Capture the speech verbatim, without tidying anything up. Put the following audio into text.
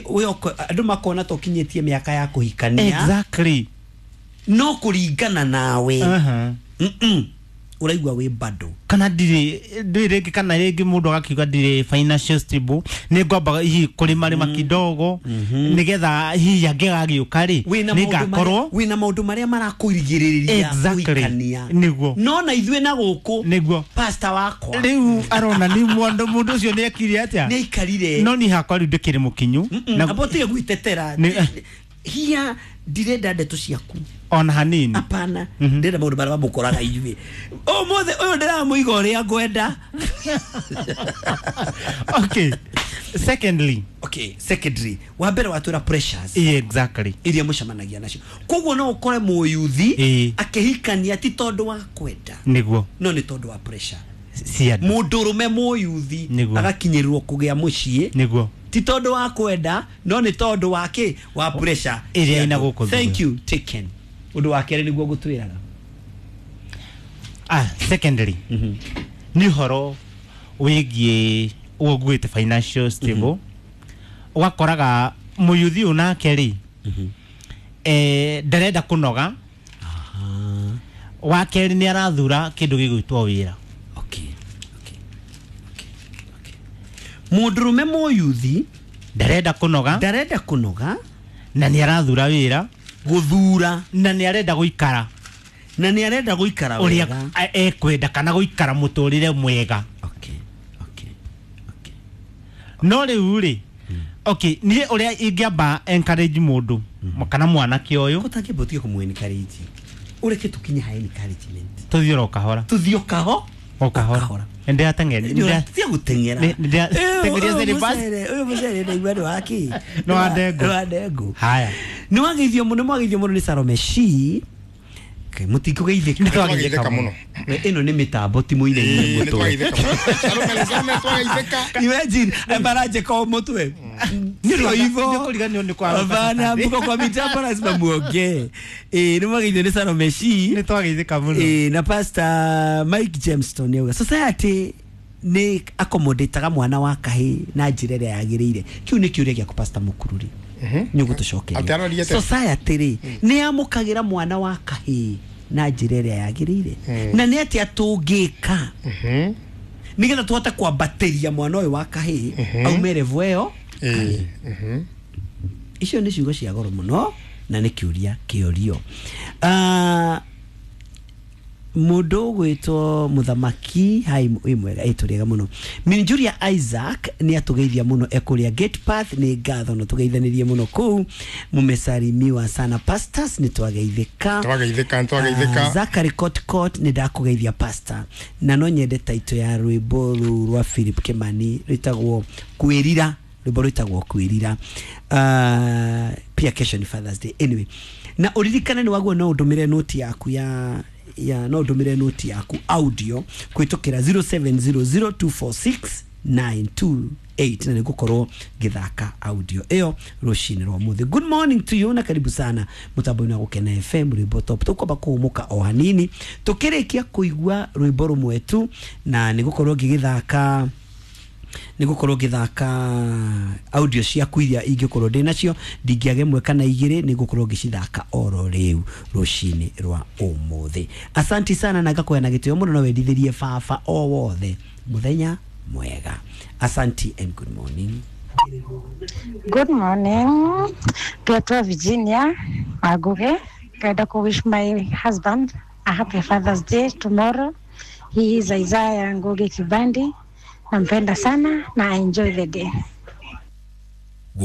we andũ makona ta ũkinyĩtie mĩaka ya kũhikania. Exactly. No kũringana nawe. Uh-huh. Mm-mm. Ũraigua wĩ bado. Kana ndirĩ ndĩ rĩngĩ kana rĩngĩ mũndũ agakiuga ndirĩ financial stable, nĩ ngwambaga hihi kũrĩma rĩma kidogo nĩgetha hihi angĩgagĩũka rĩ wĩna maũndũ nĩngakorwo marĩa- wĩna maũndũ marĩa marakũrigĩrĩria Exactly. kũhikania. Nĩguo. No na ithuĩ na gũkũ nĩguo pastor wakwa rĩu arona nĩ mũndũ mũndũ ũcio nĩ ekire atĩa nĩ aikarire. No niĩ hakwa rĩu ndĩkĩrĩ mũkinyu Mm-mm, na amba ũtige gwitetera. Nĩ- Hiya ndirenda ndeto ciaku ona hanini. Hapana, ndĩrenda maũndũ marĩa mamũkoraga inyuĩ ũmũthĩ ũyũ ndĩramũiga ũrĩa ngwenda. Okay, secondly. Okay, secondary wa mbere watwĩra pressures yeah, exactly iria mũcemanagia nacio, koguo no ũkore mũyuthi Ĩĩ. akĩhikania ti tondũ wa kwenda nĩguo no nĩ tondũ wa pressure. Cia andũ. Mũndũrũme mũyuthi Nĩguo. agakinyĩrĩrwo kũgĩa mũciĩ nĩguo ti tondũ wa kwenda no nĩ tondũ wa kĩ wa pressure Ĩrĩa cia ĩna andũ. gũkũ thutha. Thank you, taken. Ũndũ wa kerĩ nĩguo ngũtwĩraga. Ah, secondary nĩ ũhoro wĩgiĩ ũguo nguĩte financial stable, ũgakoraga mũyuthi ũyũ nake rĩ eh, ndarenda kũnoga. Wa kerĩ nĩ arathura kĩndũ gĩgwĩtwo wĩra. Okay, okay, okay, okay. Mũndũrũme mũyuthi ndarenda kũnoga ndarenda kũnoga na nĩ arathura wĩra gũthura na nĩ arenda gũikara na nĩ arenda gũikara ũrĩa wega. a- ekwenda kana gũikara mũtũrĩre mwega. Okay, okay, okay. No rĩu rĩ, okay, niĩ ũrĩa ingĩamba encourage mũndũ kana mwanake ũyũ Kũtangĩamba ũtige kũmũ encourage, ũreke tũkinye ha encouragement. Tũthiĩ oro kahora. Tũthiĩ o kaho o kahora ndĩrateng'eria. Tia gũteng'era. Nĩ- nĩ- teng'eria Ũyũ syllabus. mũcere- ũyũ mũcere ndaigua nĩ wa kĩ? Nĩ wa ndengũ. Nĩ wa ndengũ. Haya. Nĩ wageithio mũno, nĩ mwageithio mũno nĩ Salome Shi. Mũtikũgeithĩka. Nĩ twageithĩka Twageithĩka mũno. Ĩno nĩ mĩtambo ti mũinaine Ĩĩ, nĩ mũtwe. twageithĩka mũno. Salome, Salome, twageithĩka. Imagine maranjĩka o mũtwe. Ndio hivyo. Nĩkũriganĩrwo nĩ kwa Hapana, mko kwa mitambo lazima muongee. Eh, nĩ mwageithio nĩ Salome Shi. Nĩ twageithĩka mũno. Eh, na Pastor Mike Jameston yauga society nĩ accommodataga mwana wa kahĩ na njĩra ĩrĩa yagĩrĩire. Kĩu nĩ kĩũria gĩaku Pastor Mũkururi, nĩ Atĩ ũgũtũcokeria. aroria atĩa? Society rĩ nĩ yamũkagĩra mwana wa kahĩ na njĩra ĩrĩa yagĩrĩire, na nĩ atĩa tũngĩka Mhm. nĩgetha tũhote kwambatĩria mwana ũyũ wa kahĩ aume level ĩyo? Ĩĩ, mhm. Icio nĩ ciugo cia goro mũno na nĩ kĩũria kĩorio. Ah, mũndũ ũgwĩtwo mũthamaki hai wĩ mwega, ĩ tũrĩega mũno. Minjuria Isaac nĩ atũgeithia mũno ekũrĩa Gate Path, nĩ ngatho na tũgeithanĩrie mũno kũu. Mumesalimiwa sana pastors, nĩ twageithĩka. Twageithĩka, nĩ twageithĩka. Ah, Zachary Kotkot, nĩ ndakũgeithia pastor, na no nyende taito ya rwĩmbo rũu rwa Philip Kimani rwĩtagwo kwĩrira, rwĩmbo rwĩtagwo kwĩrira. uh, pia kesho ni Father's Day anyway, na ũririkane nĩ waguo no ũndũmĩre noti yaku ya ya no ũndũmĩre noti yaku audio kũhĩtũkĩra zero seven zero zero two four six nine two eight na nĩngũkorwo ngĩthaka audio ĩyo rũcinĩ rwa mũthĩ. Good morning to you na karibu sana mũtambo-inĩ wa Gũkena F M, rwĩmbo top. Tũkwamba kũhũmũka o hanini tũkĩrĩkia kũigua rwĩmbo rũmwe tu, na nĩngũkorwo ngĩgĩthaka nĩngũkorwo ngĩthaka audio ciaku iria ingĩkorwo ndĩ nacio, ndingĩaga ĩmwe kana igĩrĩ, nĩngũkorwo ngĩcithaka oro rĩu rũcinĩ rwa ũmũthĩ. Asanti sana na ngakũhe na gĩtĩo mũno, no wendithĩrie baba o wothe mũthenya mwega. Asanti and good morning. Good morning. Pietro Virginia Waguge. Ngenda ku wish my husband a happy Father's Day tomorrow. He is Isaiah Ngugi Kibandi. Nampenda sana na I enjoy the day.